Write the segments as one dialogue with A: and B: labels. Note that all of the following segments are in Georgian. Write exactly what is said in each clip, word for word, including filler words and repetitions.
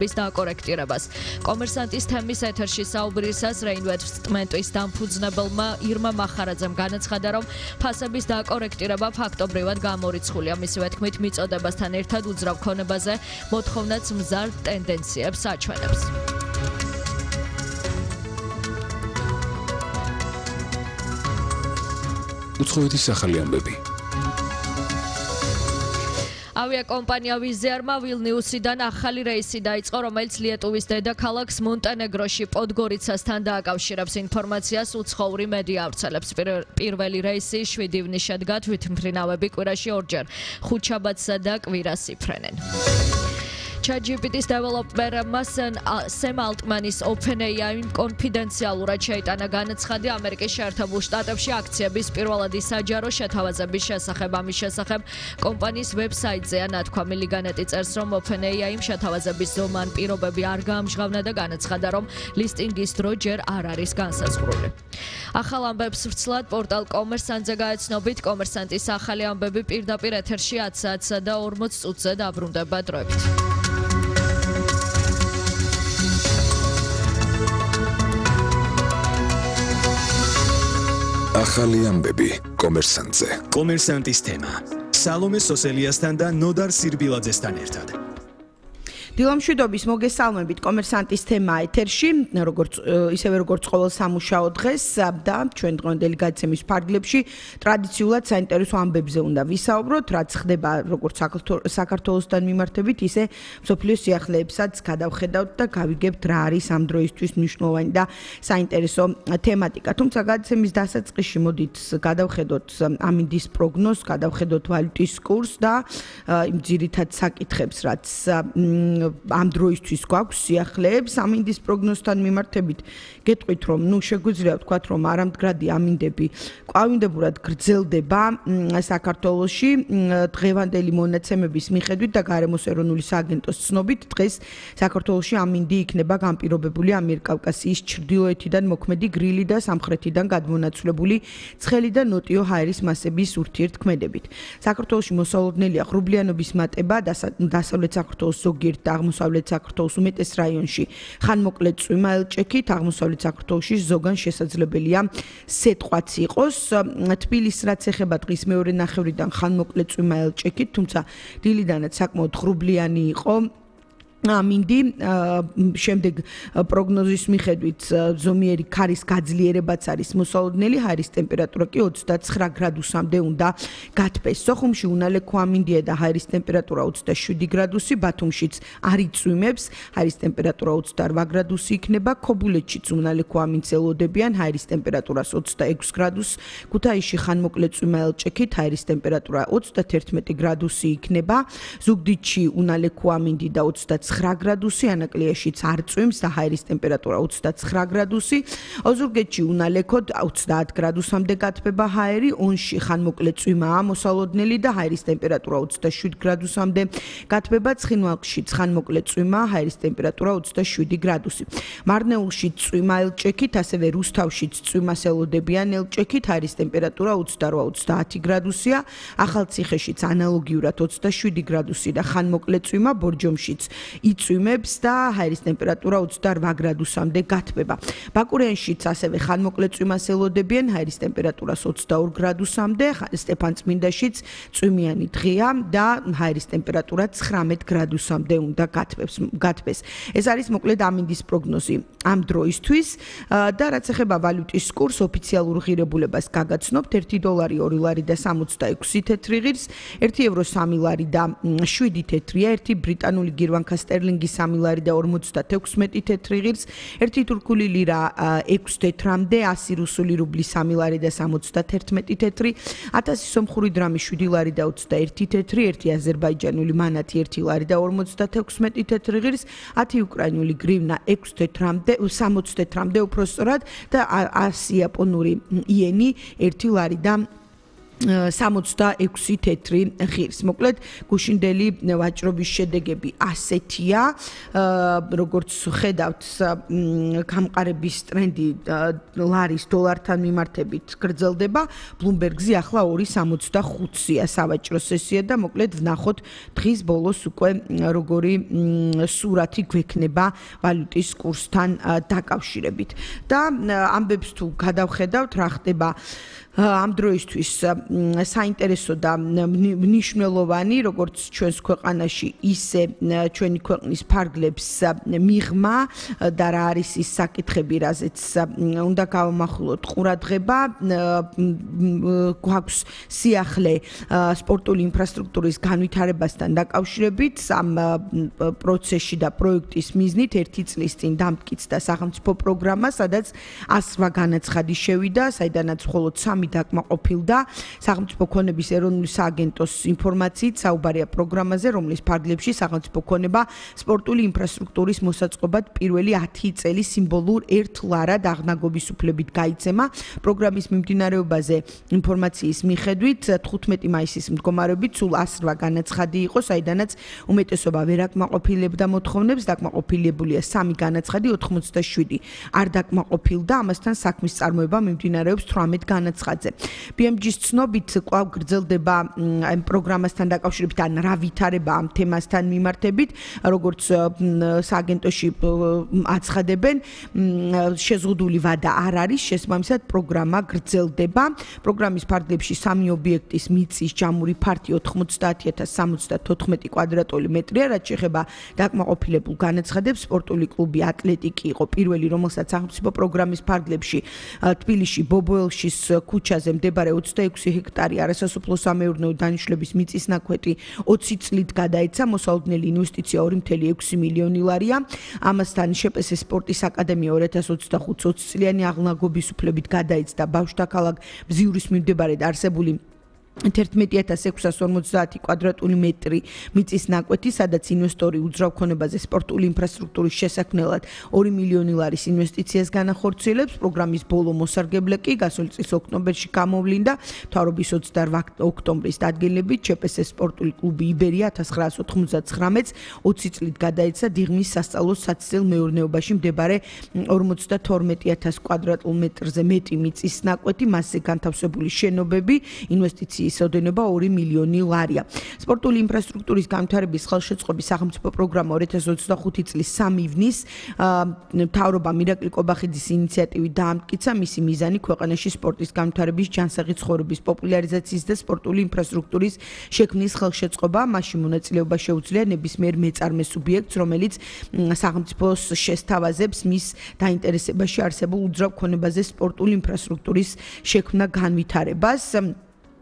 A: bis დააკორექტირებას. კომერსანტის თემის ეთერში საუბრისას რეინვესტმენტის დამფუძნებელმა ირმა მახარაძემ განაცხადა, რომ ფასების დააკორექტირება ფაქტობრივად გამორიცხულია. მისივე თქმით, მიწოდებასთან ერთად უძრავ ქონებაზე მოთხოვნაც მზარ ტენდენციებს აჩვენებს.
B: უცხოეთის ახალი ამბები.
A: ავიაკომპანია ვიზერმა ვილნიუსიდან ახალი რეისი დაიწყო, რომელიც ლიეტუვის დედაქალაქს მონტენეგროში პოდგორიცასთან დააკავშირებს. ინფორმაციას უცხოური მედია ავრცელებს. პირველი რეისი შვიდი ივნისს შედგა, თვითმფრინავები კვირაში ორჯერ ხუთშაბათსა და კვირას იფრენენ. ChatGPT-ის დეველოპერმა სემ ალტმანის OpenAI-მ კონფიდენციალურად შეიტანა განაცხადი ამერიკის შეერთებულ შტატებში აქციების პირველადი საჯარო შეთავაზების შესახებ. ამის შესახებ კომპანიის ვებსაიტზეა ნათქვამი. ლიგანეტი წერს, რომ OpenAI-მ შეთავაზების ზომა ან პირობები არ გაამჟღავნა და განაცხადა, რომ ლისტინგის დრო ჯერ არ არის განსაზღვრული. ახალ ამბებს ვრცლად პორტალ კომერსანტზე გაეცნობით. კომერსანტის ახალი ამბები პირდაპირ ეთერში ათი საათსა და ორმოც წუთზე დაბრუნდება დროებით.
B: ახალი ამბები კომერსანტზე.
C: კომერსანტის თემა. სალომე სოსელიასთან და ნოდარ სირბილაძესთან ერთად.
D: დილამშვიდობის მოგესალმებით კომერსანტის თემა ეთერში, როგორც ისევე როგორც ყოველ სამუშაო დღეს და ჩვენ დღევანდელი გადაცემის ფარგლებში ტრადიციულად საინტერესო ამბებზე უნდა ვისაუბროთ, რაც ხდება როგორც საქართველოსთან მიმართებით, ისე მსოფლიოს სიახლეებსაც გადავხედავთ და გავიგებთ რა არის ამ დროისთვის მნიშვნელოვანი და საინტერესო თემატიკა. თუმცა გადაცემის დასაწყისში მოდით გადავხედოთ ამინდის პროგნოზს, გადავხედოთ ვალუტის კურსს და იმ ძირითად საკითხებს, რაც ამ დროისთვის გვაქვს სიახლეებს ამინდის პროგნოზთან მიმართებით. გეტყვით, რომ ნუ შეგვიძლია ვთქვათ, რომ არამდგრადი ამინდები ყვავინდებურად გრძელდება საქართველოში. დღევანდელი მონაცემების მიხედვით და გარემოს ეროვნული სააგენტოს ცნობით, დღეს საქართველოში ამინდი იქნება განპირობებული ამიერკავკასიის ჩრდილოეთიდან მოქმედი გრილი და სამხრეთიდან გადმონაცვლებული ცხელი და ნოტიო ჰაერის მასების ურთიერთქმედებით. საქართველოში მოსალოდნელია ღრუბლიანობის მატება დასავლეთ საქართველოს ზოგიერთ და აღმოსავლეთ საქართველოს უმეტეს რაიონში ხანმოკლე წვიმა ელჭექით, აღმოსავლეთ საქართველოში ზოგან შესაძლებელია სეტყვაც იყოს. თბილისს რაც ეხება დღის მეორე ნახევრიდან ხანმოკლე წვიმა ელჭექით, თუმცა დილიდანაც საკმაოდ ღრუბლიანი იყო ამინდი. შემდეგ პროგნოზის მიხედვით ზომიერი ქარის გაძლიერებაც არის მოსალოდნელი, ჰაერის ტემპერატურა კი ოცდაცხრა გრადუსამდე უნდა გათბეს. სოხუმში უნალექო ამინდია და ჰაერის ტემპერატურა ოცდაშვიდი გრადუსი, ბათუმშიც არ იწვიმებს, ჰაერის ტემპერატურა ოცდაორ გრადუსი იქნება, ქობულეთშიც უნალექო ამინდს ელოდებიან, ჰაერის ტემპერატურას ოცდაექვსი გრადუსი, ქუთაისში ხანმოკლე წვიმა ელჭექით, ჰაერის ტემპერატურა ოცდათერთმეტი გრადუსი იქნება, ზუგდიდში უნალექო ამინდი და ოცდაცხრა გრადუსი, ანაკლიაშიც არ წვიმს და ჰაერის ტემპერატურა ოცდაცხრა გრადუსი, ოზურგეთში უნალექოდ ოცდაათ გრადუსამდე გათბება ჰაერი, ონში ხანმოკლე წვიმაა მოსალოდნელი და ჰაერის ტემპერატურა ოცდაშვიდი გრადუსამდე გათბება, ცხინვალხშიც ხანმოკლე წვიმაა, ჰაერის ტემპერატურა ოცდაშვიდი გრადუსი. მარნეულში წვიმა ელჭექით, ასევე რუსთავშიც წვიმას ელოდებიან ელჭექით, ჰაერის ტემპერატურა ოცდაორ ოცდაათი გრადუსია, ახალციხეშიც ანალოგიურად ოცდაშვიდი გრადუსი და ხანმოკლე წვიმა, ბორჯომშიც იწვიმებს და ჰაერის ტემპერატურა ოცდაორ გრადუსამდე გათბება. ბაკურიანშიც ასევე ხანმოკლე წვიმას ელოდებიან, ჰაერის ტემპერატურას ოცდაორ გრადუსამდე, სტეფანწმინდაშიც წვიმიანი დღეა და ჰაერის ტემპერატურა ცხრამეტ გრადუსამდე უნდა გათბეს. ეს არის მოკლედ ამინდის პროგნოზი ამ დროისთვის და რაც ეხება ვალუტის კურსს, ოფიციალურ ღირებულებას გაგაცნობთ, ერთი დოლარი ორი ლარი და სამოცდაექვსი თეთრი ღირს, ერთი ევრო სამი ლარი და შვიდი თეთრია, ერთი ბრიტანული გირვანქა სტერლინგი სამი ლარი და ორმოცდათექვსმეტი თეთრი ღირს, ერთი თურქული ლირა ექვსი თეთრამდე, ასი რუსული რუბლი სამი ლარი და სამოცდათერთმეტი თეთრი, ათასი სომხური დრამი შვიდი ლარი და ოცდაერთი თეთრი, ერთი აზერბაიჯანული მანათი ერთი ლარი და ორმოცდათექვსმეტი თეთრი ღირს, ათი უკრაინული გრივნა ექვსი თეთრამდე, სამოცი თეთრამდე უფრო სწორად და ასი იაპონური იენი ერთი ლარი და სამოცდაექვსი თეთრი ღირს. მოკლედ გუშინდელი ვაჭრობის შედეგები ასეთია. როგორც ხედავთ, გამყარების ტრენდი ლარის დოლართან მიმართებით გრძელდება. Bloomberg-ზე ახლა ორი სამოცდახუთია სავაჭრო სესია და მოკლედ ვნახოთ დღის ბოლოს უკვე როგორი სურათი გვექნება ვალუტის კურსთან დაკავშირებით. და ამბებს თუ გადავხედავთ, რა ხდება ამ დროისთვის საინტერესო და მნიშვნელოვანი, როგორც ჩვენს ქვეყანაში, ისე ჩვენი ქვეყნის ფარგლებს მიღმა და რა არის ის საკითხები, რაზეც უნდა გავამახვილოთ ყურადღება. გვაქვს სიახლე სპორტული ინფრასტრუქტურის განვითარებასთან დაკავშირებით. ამ პროცესში და პროექტის მიზნით ერთი წლის წინ დამტკიცდა სახელმწიფო პროგრამა, სადაც ასრვა განაცხადი შევიდა, საიდანაც მხოლოდ სამი დაკმაყოფილდა. სახელმწიფო ქონების ეროვნული სააგენტოს ინფორმაციით საუბარია პროგრამაზე, რომლის ფარგლებში სახელმწიფო ქონება სპორტული ინფრასტრუქტურის მოსაწყობად პირველი ათი წელი სიმბოლურ ერთ ლარად აღნაგობის უფლებით გაიცემა. პროგრამის მიმდინარეობაზე ინფორმაციის მიხედვით თხუთმეტი მაისის მდგომარეობით სულ ასრვა განაცხადი იყო, საიდანაც უმეტესობა ვერ აკმაყოფილებდა მოთხოვნებს, დაკმაყოფილებულია სამი განაცხადი, ოთხმოცდაშვიდი არ დაკმაყოფილდა, ამასთან საქმის წარმოება მიმდინარეობს თვრამეტ განაცხადზე. ბი ემ ჯის ცნობით კვლავ გრძელდება ამ პროგრამასთან დაკავშირებით ან რა ვითარება ამ თემასთან მიმართებით, როგორც სააგენტოში აცხადებენ, შეზღუდული ვადა არ არის, შესაბამისად პროგრამა გრძელდება. პროგრამის ფარგლებში სამი ობიექტის მიწის ჯამური ფართი ოთხმოცდაათი ათას სამოცდათოთხმეტი კვადრატული მეტრია, რაც შეეხება დაკმაყოფილებულ განაცხადებს. სპორტული კლუბი ატლეტიკი იყო პირველი, რომელსაც სახელმწიფო პროგრამის ფარგლებში თბილისში ბობოელშის ქუჩაზე მდებარე ოცდაექვსი ჰექტარი არასასოფლო-სამეურნეო დანიშნულების მიწის ნაკვეთი ოცი წლით გადაეცა. მოსალოდნელი ინვესტიცია ორი მცდარი ექვსი მილიონი ლარია. ამასთან შპს სპორტის აკადემია ორი ათას ოცდახუთს ოცი წლიანი აღლაგობის უფლებით გადაეცდა ბავშვთა ქალაქ ბზიურის მიმდებარედ არსებული ერთმეტი ათას ექვსას ორმოცდაათი კვადრატული მეტრი მიწის ნაკვეთი, სადაც ინვესტორი უძრავ ქონებაზე სპორტული ინფრასტრუქტურის შესაქმნელად ორი მილიონი ლარის ინვესტიციას განახორციელებს. პროგრამის ბოლო მოსარგებლე კი გასული წლის ოქტომბერში გამოვლინდა. მთავრობის ოცდაორ ოქტომბრის დადგენილებით შპს სპორტული კლუბი იბერია ათას ცხრაას ოთხმოცდათხრამეტს ოცი წლით გადაეცა დიღმის სასწავლო საცდელ მეურნეობაში მდებარე ორმოცდათორმეტი ათას კვადრატულ მეტრზე მეტი მიწის ნაკვეთი, მასზე განთავსებული შენობები, ინვესტიციის ოდენობა ორი მილიონი ლარია. სპორტული ინფრასტრუქტურის განვითარების ხელშეწყობის სახელმწიფო პროგრამა ორი ათას ოცდახუთი წლის სამი ივნის მთავრობამ ირაკლი კობახიძის ინიციატივით დაამტკიცა. მისი მიზანი ქვეყანაში სპორტის განვითარების, ჯანსაღი ცხოვრების პოპულარიზაციის და სპორტული ინფრასტრუქტურის შექმნის ხელშეწყობა. მასში მონაწილეობა შეუძლია ნებისმიერ მეწარმე სუბიექტს, რომელიც სახელმწიფოს შესთავაზებს მის დაინტერესებაში არსებულ უძრავ ქონებაზე სპორტული ინფრასტრუქტურის შექმნა განვითარებას.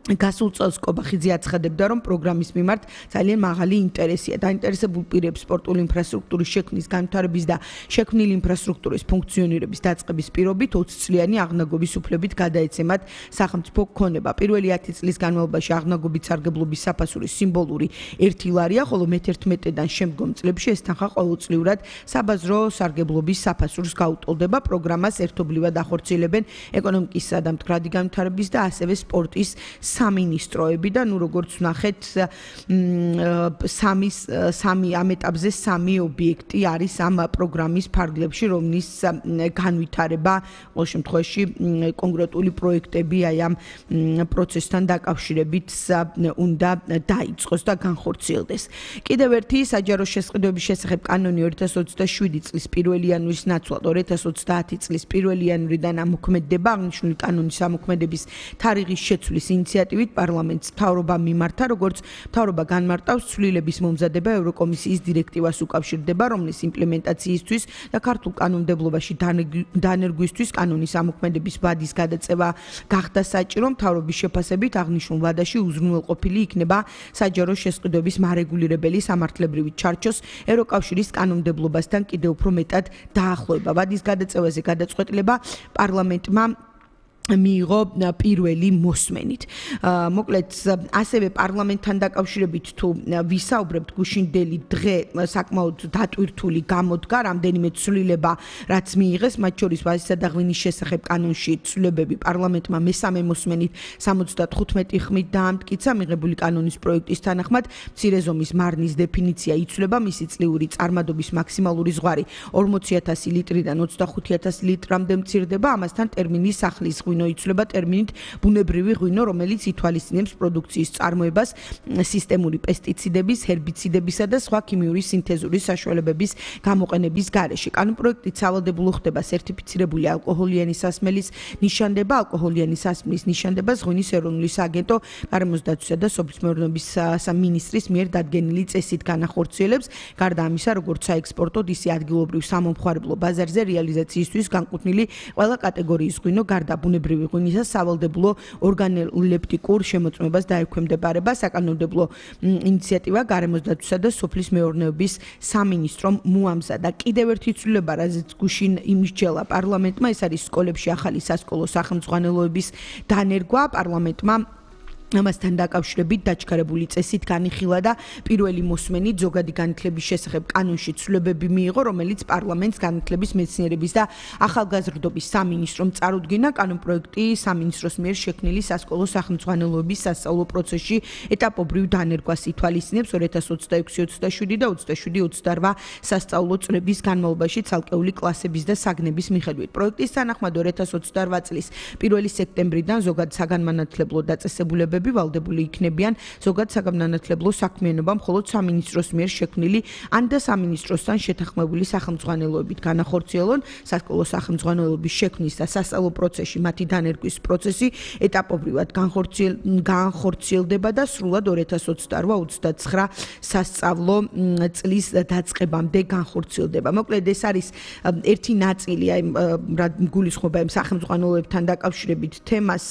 D: გასულ წელს კობახიძე აცხადებდა, რომ პროგრამის მიმართ ძალიან მაღალი ინტერესია. დაინტერესებულ პირებს სპორტული ინფრასტრუქტურის შექმნის განვითარების და შექმნილი ინფრასტრუქტურის ფუნქციონირების დაწყების პირობით ოცი წლიანი აღნაგობის უფლებით გადაეცემათ სახელმწიფო ქონება. პირველი ათი წლის განმავლობაში აღნაგობით სარგებლობის საფასური სიმბოლური ერთი ლარია, ხოლო მეთერთმეტედან შემდგომ წლებში ეს თანხა ყოველწლიურად საბაზრო სარგებლობის საფასურს გაუტოლდება. პროგრამას ერთობლივად ახორციელებენ ეკონომიკისა და მდგრადი განვითარების და ასევე სპორტის სამინისტროები და ნუ როგორც ვნახეთ სამი სამი ამ ეტაპზე სამი ობიექტი არის ამ პროგრამის ფარგლებში, რომლის განვითარება ყოველ შემთხვევაში კონკრეტული პროექტები აი ამ პროცესთან დაკავშირებით უნდა დაიწყოს და განხორციელდეს. კიდევ ერთი საჯარო შესყიდვების შესახებ კანონი ორი ათას ოცდაშვიდი წლის პირველი იანვრის ნაცვლად ორი ათას ოცდაათი წლის პირველი იანვრიდან ამოქმედდება. აღნიშნული კანონის ამოქმედების თარიღის შეცვლის ინიციატივით პარლამენტს მთავრობა მიმართა, როგორც მთავრობა განმარტავს ცვლილების მომზადება ევროკომისიის დირექტივას უკავშირდება, რომლის იმპლემენტაციისთვის და ქართულ კანონმდებლობაში დანერგვისთვის კანონის ამოქმედების ვადის გადაწევა გახდა საჭირო. მთავრობის შეფასებით აღნიშნულ ვადაში უზრუნველყოფილი იქნება საჯარო შესყიდვების მარეგულირებელი სამართლებრივი ჩარჩოს ევროკავშირის კანონმდებლობასთან კიდევ უფრო მეტად დაახლოება. ვადის გადაწევაზე გადაწყვეტილება პარლამენტმა მიიღო პირველი მოსმენით. მოკლედ ასევე პარლამენტთან დაკავშირებით თუ ვისაუბრებთ გუშინდელი დღე საკმაოდ დატვირთული გამოდგა რამდენიმე ცვლილება რაც მიიღეს მათ შორის ვაზისა და ღვინის შესახებ კანონში ცვლილებები პარლამენტმა მესამე მოსმენით სამოცდათხუთმეტი ხმით დაამტკიცა მიღებული კანონის პროექტის თანახმად მცირე ზომის მარნის დეფინიცია იცვლება მისი წლიური წარმადობის მაქსიმალური ზღვარი ორმოცი ათასი ლიტრიდან ოცდახუთი ათასი ლიტრამდე მცირდება ამასთან ტერმინი სახლის ღვინო იცვლება ტერმინით ბუნებრივი ღვინო, რომელიც ითვალისწინებს პროდუქციის წარმოებას სისტემური პესტიციდების, ჰერბიციდებისა და სხვა ქიმიური სინთეზური საშუალებების გამოყენების გარეშე. კანონპროექტით სავალდებულო ხდება სერტიფიცირებული ალკოჰოლიანი სასმელის ნიშანდება, ალკოჰოლიანი სასმლის ნიშანდებას ღვინის ეროვნული სააგენტო, გარემოს დაცვისა და სოფლის მეურნეობის სამინისტრის მიერ დადგენილი წესით განახორციელებს. გარდა ამისა, როგორც საექსპორტო, ისე ადგილობრივ სამომხმარებლო ბაზარზე რეალიზაციისთვის განკუთვნილი ყველა კატეგორიის ღვინო გარდა ბუნებრივი ღვინისა სავალდებულო ორგანოლეპტიკურ შემოწმებას დაექვემდებარება. საკანონმდებლო ინიციატივა გარემოს დაცვისა და სოფლის მეურნეობის სამინისტრომ მოამზადა. კიდევ ერთი ცვლილება, რაზეც გუშინ იმსჯელა პარლამენტმა, ეს არის სკოლებში ახალი სასკოლო სახელმძღვანელოების დანერგვა. პარლამენტმა ამასთან დაკავშირებით დაჩქარებული წესით განიხილა და პირველი მოსმენით ზოგადი განათლების შესახებ კანონში ცვლილებები მიიღო, რომელიც პარლამენტს განათლების, მეცნიერების და ახალგაზრდობის სამინისტრომ წარუდგინა. კანონპროექტი სამინისტროს მიერ შექმნილი სასკოლო სახელმძღვანელოების სასწავლო პროცესში ეტაპობრივ დანერგვას ითვალისწინებს ორი ათას ოცდაექვსი ოცდაშვიდი და ოცდაშვიდი ოცდაოთხ სასწავლო წლების განმავლობაში ცალკეული კლასების და საგნების მიხედვით. პროექტის თანახმად ორი ათას ოცდაოთხ წლის პირველი სექტემბრიდან ზოგად საგანმანათლებლო დაწესებულებები ვალდებული იქნებიან ზოგად საგანმანათლებლო საქმიანობა მხოლოდ სამინისტროს მიერ შექმნილი ან და სამინისტროსთან შეთანხმებული სახელმძღვანელოებით განახორციელონ. სასკოლო სახელმძღვანელოების შექმნის და სასწავლო პროცესში მათი დანერგვის პროცესი ეტაპობრივად განხორციელდება და სრულად ორი ათას ოცდაოთხ ოცდაცხრა სასწავლო წლის დაწყებამდე განხორციელდება. მოკლედ ეს არის ერთი ნაწილი, აი რა გულისხმობა იმ სახელმძღვანელოებთან დაკავშირებით თემას,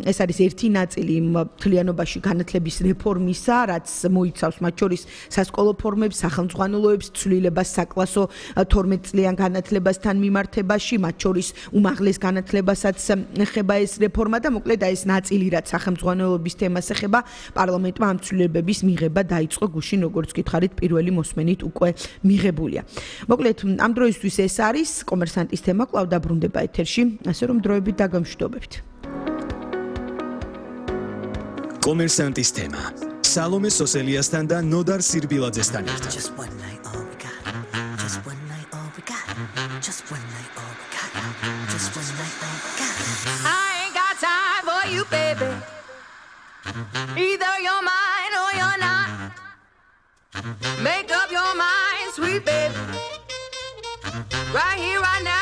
D: ეს არის ერთი ნაწილი მთლიანობაში განათლების რეფორმისა, რაც მოიცავს მათ შორის სასკოლო ფორმებს, სახელმძღვანელოებს, ცვლილებას საკლასო თორმეტ წლიან განათლებასთან მიმართებაში, მათ შორის უმაღლეს განათლებასაც ეხება ეს რეფორმა და მოკლედ ეს ნაწილი, რაც სახელმძღვანელოების თემას ეხება, პარლამენტმა ამ ცვლილებების მიღება დაიწყო გუშინ, როგორც გითხარით, პირველი მოსმენით უკვე მიღებულია. მოკლედ ამ დროისთვის ეს არის კომერსანტის თემა, კვლავ დაბრუნდება ეთერში, ასე რომ დროებით დაგემშვიდობებთ.
C: კომერსანტის თემა სალომე სოსელიასთან და ნოდარ სირბილაძესთან ერთად.
E: Just one night all we got. Just one night all we got. Just one night all we got. Just one night all we got. I ain't got time for you, baby. Either you're mine or you're not. Make up your mind, sweet baby. Right here, right now.